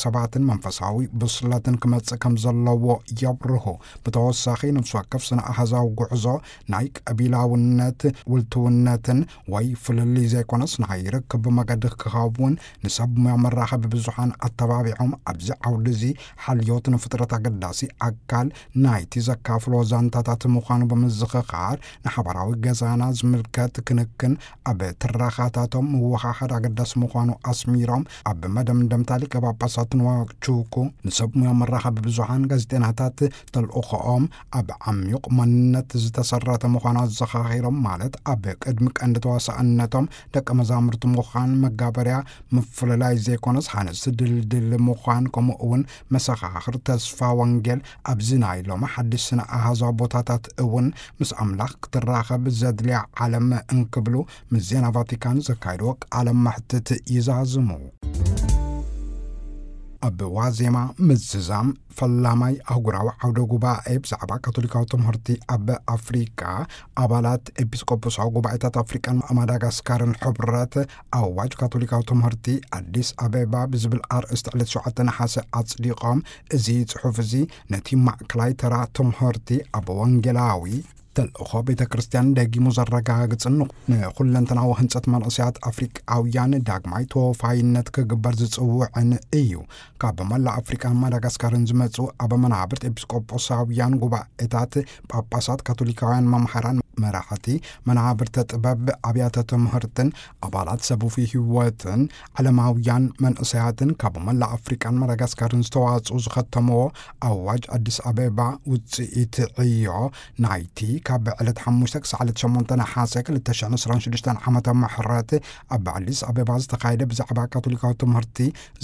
ሰባትን መንፈሳዊ ብስለትን ክመጽእ ከም ዘለዎ የብርሁ። ብተወሳኺ፣ ነፍሲ ወከፍ ስነ ኣሃዛዊ ጉዕዞ ናይ ቀቢላውነት፣ ውልትውነትን ወይ ፍልልይ ዘይኮነስ ናይ ርክብ መገዲ ክኸውን፣ ንሰብ ሙያ መራኸቢ ብዙሓን ኣተባቢዖም ኣብዚ ዓውዲ እዚ ሓልዮት ንፍጥረት ኣገዳሲ ኣካል ናይቲ ዘካፍሎ ዛንታታት ምዃኑ ብምዝኽኻር፣ ንሓባራዊ ገዛና ዝምልከት ክንክን ኣብ ትረኻታቶም ምውሓድ ኣገዳሲ ምዃኑ ኣስሚሮም፣ ኣብ መደምደምታ ሊቀ ጳጳሳት ንዋቹኩ፣ ንሰብ ሙያ መራኸቢ ብዙሓን ጋዜጠናታት ተልእኾኦም ኣብ ዓሚቕ መንነት ዝተሰረተ ምዃኑ ኣዘኻኺሮም፣ ማለት ኣብ ቅድሚ ቀንዲ ተዋሳእነቶም ደቀ መዛሙርቲ ምዃን መጋበርያ ምፍልላይ ዘይኮነስ፣ ሃነጽቲ ድልድል ምዃን፣ ከምኡ እውን መሰኻኽር ተስፋ ወንጌል ኣብዚ ናይ ሎሚ ሓድሽ ስነ ኣሃዛዊ ቦታታት እውን ምስ ኣምላኽ ክትራኸብ ዘድልያ ዓለም እንክብሉ ምስ ዜና ቫቲካን ዘካየድዎ ቃለ መሕትት ይዛዝሙ። ኣብ ዋዜማ ምዝዛም ፈላማይ ኣህጉራዊ ዓውደ ጉባኤ ብዛዕባ ካቶሊካዊ ትምህርቲ ኣብ ኣፍሪቃ፣ ኣባላት ኤጲስቆጶሳዊ ጉባኤታት ኣፍሪቃን ማዳጋስካርን ሕብረት ኣዋጅ ካቶሊካዊ ትምህርቲ ኣዲስ ኣበባ ብዝብል ኣርእስቲ ዕለት ሸውዓተ ነሓሰ ኣጽዲቖም። እዚ ጽሑፍ እዚ ነቲ ማእከላይ ተራ ትምህርቲ ኣብ ወንጌላዊ ተልእኾ ቤተ ክርስቲያን ደጊሙ ዘረጋግጽን ንኹለንተናዊ ህንጸት መንእሰያት ኣፍሪቃውያን ዳግማይ ተወፋይነት ክግበር ዝጽውዕን እዩ። ካብ መላእ ኣፍሪቃን ማዳጋስካርን ዝመጹ ኣብ መናብርት ኤጲስቆጶሳውያን ጉባኤታት፣ ጳጳሳት፣ ካቶሊካውያን መምሃራን፣ መራሕቲ መናብርተ ጥበብ፣ ኣብያተ ትምህርትን ኣባላት ሰቡፊ ህይወትን ዓለማውያን መንእሰያትን ካብ መላእ ኣፍሪቃን ማዳጋስካርን ዝተዋጽኡ ዝኸተምዎ ኣዋጅ ኣዲስ ኣበባ ውጽኢት ዕዮ ናይቲ ካብ ዕለት ሓሙሽተ ክሳዕ ዕለት ሸሞንተ ነሓሰ ክልተ ሽሕን ዕስራን ሽዱሽተን ዓመተ ምሕረት ኣብ ኣዲስ ኣበባ ዝተኻየደ ብዛዕባ ካቶሊካዊ ትምህርቲ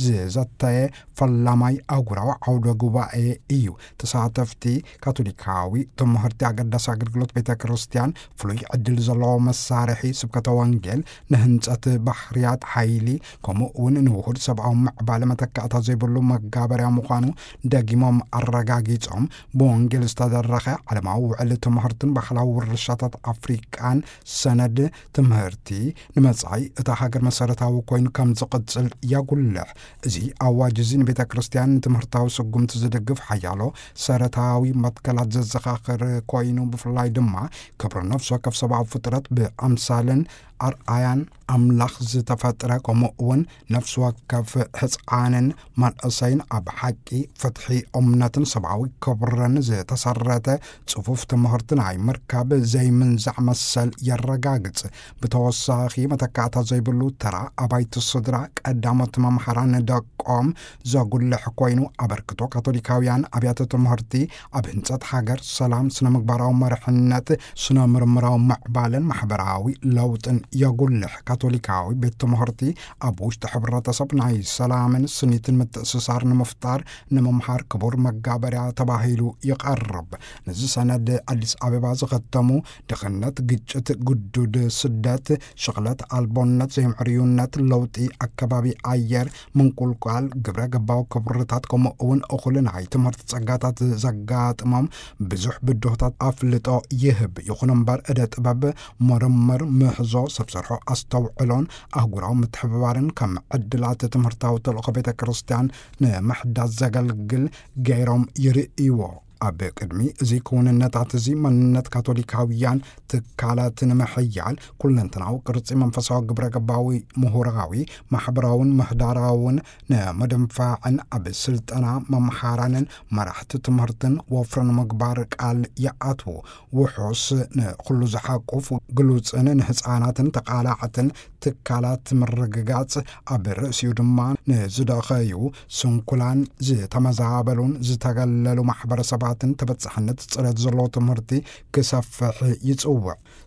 ዝዘተየ ፈላማይ ኣህጉራዊ ዓውደ ጉባኤ እዩ። ተሳተፍቲ፣ ካቶሊካዊ ትምህርቲ ኣገዳሲ ኣገልግሎት ቤተ ክርስቲያን፣ ፍሉይ ዕድል ዘለዎ መሳርሒ ስብከተ ወንጌል፣ ንህንጸት ባህርያት ሓይሊ፣ ከምኡ እውን ንውሁድ ሰብኣዊ ምዕባለ መተካእታ ዘይብሉ መጋበርያ ምዃኑ ደጊሞም ኣረጋጊጾም፣ ብወንጌል ዝተደረኸ ዓለማዊ ውዕል ትምህርትን ባህላዊ ውርሻታት ኣፍሪቃን ሰነድ ትምህርቲ ንመጻኢ እታ ሃገር መሰረታዊ ኮይኑ ከም ዝቕጽል የጉልሕ። እዚ ኣዋጅ እዚ ንቤተ ክርስቲያን ንትምህርታዊ ስጉምቲ ዝድግፍ ሓያሎ ሰረታዊ መትከላት ዘዘኻኽር ኮይኑ፣ ብፍላይ ድማ ክብሪ ነፍሲ ወከፍ ሰብኣዊ ፍጥረት ብኣምሳልን ኣርኣያን ኣምላኽ ዝተፈጥረ፣ ከምኡ እውን ነፍሲ ወከፍ ህጽዓንን መንእሰይን ኣብ ሓቂ፣ ፍትሒ፣ እምነትን ሰብኣዊ ክብርን ዝተሰረተ ጽፉፍ ትምህርቲ ናይ ምርካብ ዘይምንዛዕ መሰል የረጋግጽ። ብተወሳኺ፣ መተካእታ ዘይብሉ ተራ ኣባይቲ ስድራ፣ ቀዳሞት መምሃራን ደቆም ዘጉልሕ ኮይኑ፣ ኣበርክቶ ካቶሊካውያን ኣብያተ ትምህርቲ ኣብ ህንጸት ሃገር፣ ሰላም፣ ስነ ምግባራዊ መርሕነት፣ ስነ ምርምራዊ ምዕባለን ማሕበራዊ ለውጥን የጉልሕ። ካቶሊካዊ ቤት ትምህርቲ ኣብ ውሽጢ ሕብረተሰብ ናይ ሰላምን ስኒትን ምትእስሳር ንምፍጣር ንምምሃር ክቡር መጋበርያ ተባሂሉ ይቐርብ። ነዚ ሰነድ ኣዲስ ኣበባ ዝኸተሙ፣ ድኽነት፣ ግጭት፣ ግዱድ ስደት፣ ሽቕለት ኣልቦነት፣ ዘይምዕርዩነት፣ ለውጢ ኣከባቢ ኣየር፣ ምንቁልቋል ግብረ ገባዊ ክብርታት፣ ከምኡ እውን እኹል ናይ ትምህርቲ ጸጋታት ዘጋጥሞም ብዙሕ ብድሆታት ኣፍልጦ ይህብ። ይኹን እምበር፣ እደ ጥበብ፣ ምርምር፣ ምህዞ፣ ሰብ ሰርሖ ኣስተውዕሎን ኣህጉራዊ ምትሕብባርን ከም ዕድላት ትምህርታዊ ተልእኾ ቤተ ክርስቲያን ንምሕዳስ ዘገልግል ገይሮም ይርእይዎ። ኣብ ቅድሚ እዚ ክውንነታት እዚ፣ መንነት ካቶሊካውያን ትካላት ንምሕያል፣ ኩለንተናዊ ቅርጺ መንፈሳዊ ግብረ ገባዊ፣ ምሁራዊ፣ ማሕበራውን ምህዳራውን ንምድንፋዕን ኣብ ስልጠና መምሃራንን መራሕቲ ትምህርትን ወፍሪ ንምግባር ቃል ይኣትዉ። ውሑስ፣ ንኹሉ ዝሓቁፍ፣ ግሉጽን ንህጻናትን ተቓላዕትን ትካላት ምርግጋጽ፣ ኣብ ርእሲኡ ድማ ንዝደኸዩ፣ ስንኩላን፣ ዝተመዛበሉን ዝተገለሉ ማሕበረሰባትን ተበጻሕነት ጽሬት ዘለዎ ትምህርቲ ክሰፍሕ ይጽውዕ።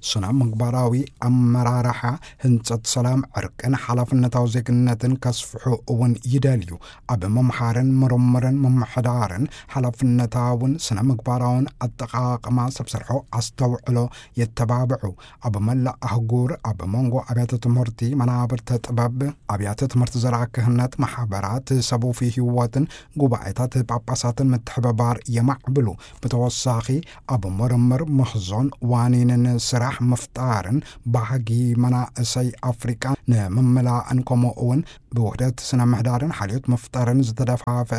ስነ ምግባራዊ ኣመራርሓ፣ ህንጸት ሰላም፣ ዕርቅን ሓላፍነታዊ ዜግነትን ከስፍሑ እውን ይደልዩ። ኣብ ምምሃርን ምርምርን ምምሕዳርን ሓላፍነታውን ስነ ምግባራውን ኣጠቓቕማ ሰብ ሰርሖ ኣስተውዕሎ የተባብዑ። ኣብ መላእ ኣህጉር ኣብ መንጎ ኣብያተ ትምህርቲ፣ መናብርተ ጥበብ፣ ኣብያተ ትምህርቲ ዘርኣ ክህነት፣ ማሕበራት ሰቡፊ ህይወትን ጉባኤታት ጳጳሳትን ምትሕብባር የማዕብሉ። ብሉ። ብተወሳኺ ኣብ ምርምር፣ ምህዞን ዋኒንን ስራሕ ምፍጣርን ባህጊ መናእሰይ ኣፍሪቃ ንምምላእን፣ ከምኡ እውን ብውህደት ስነ ምህዳርን ሓልዮት ምፍጣርን ዝተደፋፈ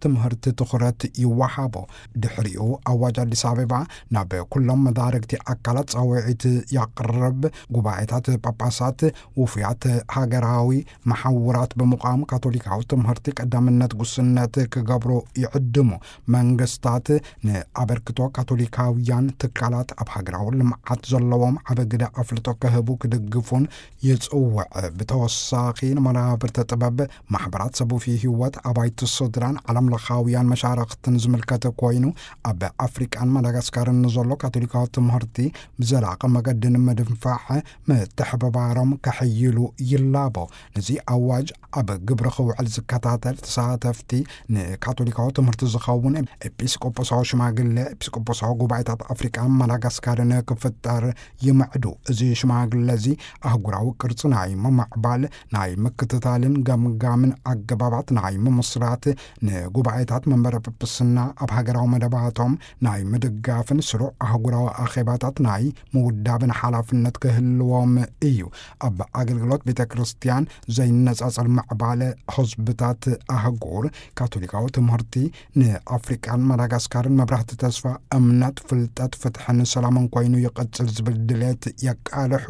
ትምህርቲ ትኹረት ይወሃቦ። ድሕሪኡ ኣዋጅ ኣዲስ ኣበባ ናብ ኩሎም መዳርግቲ ኣካላት ጻውዒት ያቕርብ። ጉባኤታት ጳጳሳት፣ ውፉያት ሃገራዊ መሓውራት ብምቋም ካቶሊካዊ ትምህርቲ ቀዳምነት ጉስነት ክገብሩ ይዕድሙ። መንግስታት ንኣበርክቶ ካቶሊካውያን ትካላት ኣብ ሃገራዊ ልምዓት ዘለዎም ዓበ ግደ ኣፍልጦ ክህቡ ክድግፉን ይጽውዕ። ብተወሳኺ ንመናብርተ ጥበብ፣ ማሕበራት ሰብ ውፊ ህይወት፣ ኣባይቲ ስድራን ዓለም ለኻውያን መሻርኽትን ዝምልከት ኮይኑ፣ ኣብ ኣፍሪቃን ማዳጋስካርን ንዘሎ ካቶሊካዊ ትምህርቲ ብዘላቒ መገዲ ንምድንፋዕ ምትሕብባሮም ከሕይሉ ይላቦ። ነዚ ኣዋጅ ኣብ ግብሪ ክውዕል ዝከታተል፣ ተሳተፍቲ ንካቶሊካዊ ትምህርቲ ዝኸውን ኤጲስቆጶሳዊ ሽማግሌ ኤጲስቆጶሳዊ ጉባኤታት ኣፍሪቃን ማዳጋስካርን ክፍጠር ይምዕዱ። እዚ ሽማግለ እዚ ኣህጉራዊ ቅርጺ ናይ ምምዕባል፣ ናይ ምክትታልን ገምጋምን ኣገባባት ናይ ምምስራት፣ ንጉባኤታት መንበረ ጵጵስና ኣብ ሃገራዊ መደባቶም ናይ ምድጋፍን ስሩዕ ኣህጉራዊ ኣኼባታት ናይ ምውዳብን ሓላፍነት ክህልዎም እዩ። ኣብ ኣገልግሎት ቤተ ክርስቲያን ዘይነጻጸል ምዕባለ ህዝብታት ኣህጉር፣ ካቶሊካዊ ትምህርቲ ንኣፍሪቃን ማዳጋስካርን መብራህቲ ተስፋ፣ እምነት፣ ፍልጠት፣ ፍትሕን ሰላምን ኮይኑ ይቕጽል ዝብል ድሌት የቃልሑ።